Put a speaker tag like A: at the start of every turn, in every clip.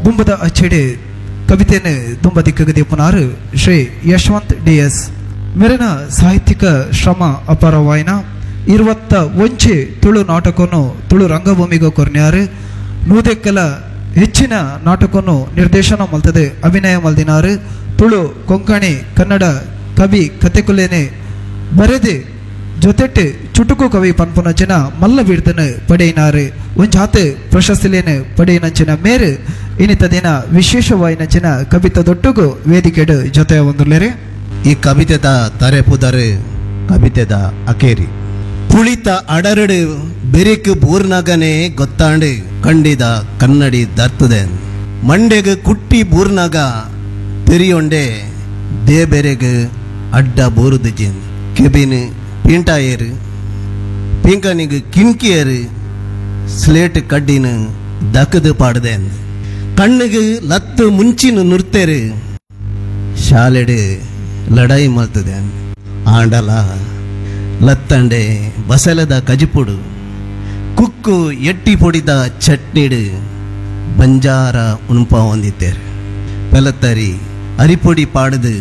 A: ದುಂಬದ ಅಚ್ಚೆಡೆ ಕವಿತೆಯನ್ನು ದುಂಬ ದಿಕ್ಕಗೆ ದೀಪನಾರು Shri Yashwant D S ಮೇರಿನ ಸಾಹಿತ್ಯಿಕ ಶ್ರಮ ಅಪಾರವಾಯಿನ ಇರುವತ್ತ ಒಂಚೆ ತುಳು ನಾಟಕವನ್ನು ತುಳು ರಂಗಭೂಮಿಗೆ ಕೊರ್ನ್ಯಾರು. ನೂದೆಕ್ಕಲ ಹೆಚ್ಚಿನ ನಾಟಕವನ್ನು ನಿರ್ದೇಶನ ಮಲ್ತದೆ ಅಭಿನಯ ಮಲ್ದಿನಾರು. ತುಳು, ಕೊಂಕಣಿ, ಕನ್ನಡ ಕವಿ ಕತೆಕುಲೇನೆ ಬರೆದು ಜೊತೆಟ್ ಚುಟುಕು ಕವಿ ಪನ್ಪುನಂಚಿನ ಮಲ್ಲ ಬಿಡ್ದನು ಪಡೆಯಿನಾರು. ಒಂಜಾತ್ ಪ್ರಶಸ್ತಿಲೇನು ಪಡೆಯಿನಂಚಿನ ಮೇರು ಇನ್ನಿತ ದಿನ ವಿಶೇಷವಾಯಿನಂಚಿನ ಕವಿತ ದೊಟ್ಟುಗು ವೇದಿಕೆಡು ಜೊತೆ ಒಂದುಲ್ಲೇರಿ.
B: ಈ ಕವಿತೆದ ತರೆ ಪುದರು ಕವಿತೆದ ಅಕೇರಿ. ಪುಳಿತ ಅಡರಡು ಬೆರಿಕ್ ಬೂರ್ನಗನೆ ಗೊತ್ತಾಂಡು ಕಂಡಿದ ಕನ್ನಡಿ ದರ್ತದೆ. ಮಂಡೆಗ್ ಕುಟ್ಟಿ ಬೂರ್ನಗ ತೆರಿಯೊಂಡೆ ದೇಬೆರೆಗ್ ಅಡ್ಡ ಬೂರುದಿಜಿನ್. Cabin ಪಿಂಟಾಯೇರು ಪಿಂಕನಿಗ್ ಕಿನ್ಕಿಯರು slate ಕಡ್ಡಿನ ದಕದು ಪಾಡದೆ. ಕಣ್ಣಿಗೆ ಲತ್ತು ಮುಂಚಿನ ನುರ್ತೇರು ಶಾಲೆಡು ಲಡಾಯಿ ಮಲ್ತದೆ. ಆಂಡಲ ಲತ್ತಂಡೆ ಬಸಲದ ಕಜಿಪುಡು ಕುಕ್ಕು ಎಟ್ಟಿ ಪೊಡಿದ ಚಟ್ನಿಡು ಬಂಜಾರ ಉಣುಪ ಹೊಂದಿತ್ತೇರು. ಪೆಲತ್ತರಿ ಅರಿಪೊಡಿ ಪಾಡದು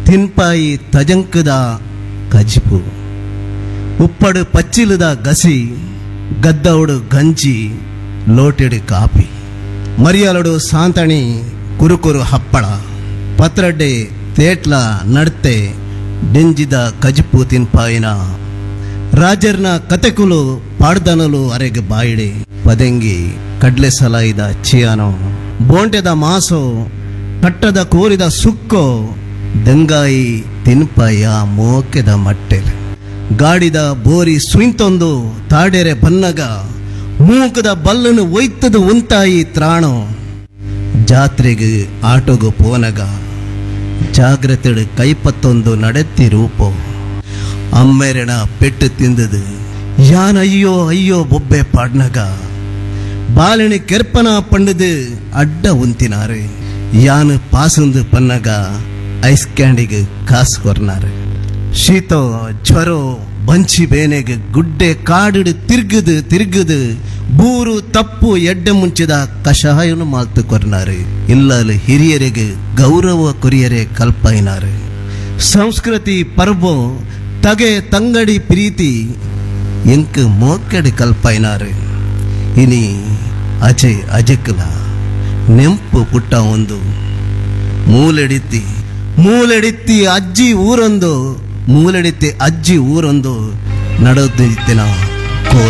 B: ತಿನ್ಪಾಯಿ ತಜಂಕದ ಕಜಿಪು ಉಪ್ಪಡು ಪಚ್ಚಿಲದ ಗಸಿ ಗದ್ದೌಡು ಗಂಜಿ ಲೋಟೆಡು ಕಾಪಿ ಮರಿಯಲಡು ಸಾಂತಣಿ ಕುರುಕುರು ಹಪ್ಪಳ ಪತ್ರಡ್ಡೆ ತೇಟ್ಲ ನಡ್ತೆ ಡೆಂಜಿದ ಕಜಿಪು ತಿನ್ಪಾಯಿನ ರಾಜರ್ನ ಕತೆಕುಲು ಪಾಡ್ದನಲು ಅರೆಗೆ ಬಾಯಿಡೆ ಪದೆಂಗಿ ಕಡ್ಲೆ ಸಲಾಯಿದ ಚಿಯಾನೋ ಬೋಂಟೆದ ಮಾಸೋ ಕಟ್ಟದ ಕೋರಿದ ಸುಕ್ಕೋ ದೆಂಗಾಯಿ ತಿನ್ಪಾಯ ಮೋಕೆದ ಮಟ್ಟೆಲ್ ಗಾಡಿದ ಬೋರಿ ಸುಯಿಂತೊಂದು ತಾಡೆರೆ ಬನ್ನಗ ಮೂಕದ ಬಲ್ಲನು ಒಯ್ತದ ಉಂತಾಯಿ ತ್ರಾಣೋ ಜಾತ್ರೆಗೆ ಆಟೋಗು ಪೋನಗ ಜಾಗ್ರತೆಡು ಕೈಪತ್ತೊಂದು ನಡೆತ್ತಿ ರೂಪೋ ಅಮ್ಮೆರೆಣ ಪೆಟ್ಟು ತಿಂದದು ಯಾನ್ ಅಯ್ಯೋ ಅಯ್ಯೋ ಬೊಬ್ಬೆ ಪಾಡ್ನಗ ಬಾಲಿನ ಕೆರ್ಪನ ಪಂಡದು ಅಡ್ಡ ಉಂತಿನಾರು ಯಾನು ಪಾಸಂದು ಪನ್ನಗ ಐಸ್ ಕ್ಯಾಂಡಿಗೆ ಕಾಸು ಕೊರ್ನಾರು. ಶೀತೋ ಜ್ವರೋ ಬಂಚಿ ಬೇನೆಗೆ ಗುಡ್ಡೆ ಕಾಡಿಡು ತಿರ್ಗುದು ತಿರ್ಗುದು ಬೂರು ತಪ್ಪು ಎಡ್ಡೆ ಮುಂಚಿದ ಕಷಾಯನು ಮಾಲ್ತು ಕೊರ್ನಾರು. ಇಲ್ಲಲು ಹಿರಿಯರಿಗೆ ಗೌರವ ಕೊರಿಯರೆ ಕಲ್ಪೈನಾರು. ಸಂಸ್ಕೃತಿ ಪರ್ಬೋ ತಗೆ ತಂಗಡಿ ಪ್ರೀತಿ ಎಂಕ್ ಮೋಕೆಡೆ ಕಲ್ಪೈನಾರು. ಇನಿ ಅಜೆ ಅಜಕ್ಲ ನೆಂಪು ಪುಟ್ಟ ಒಂದು ಮೂಲೆಡಿತ್ತಿ ಮೂಲೆಡಿತ್ತಿ ಅಜ್ಜಿ ಊರೊಂದು ಮೂಲೆಡಿತ್ತಿ ಅಜ್ಜಿ ಊರೊಂದು ನಡೆದಿತ್ತಿನ ಕೋಲು.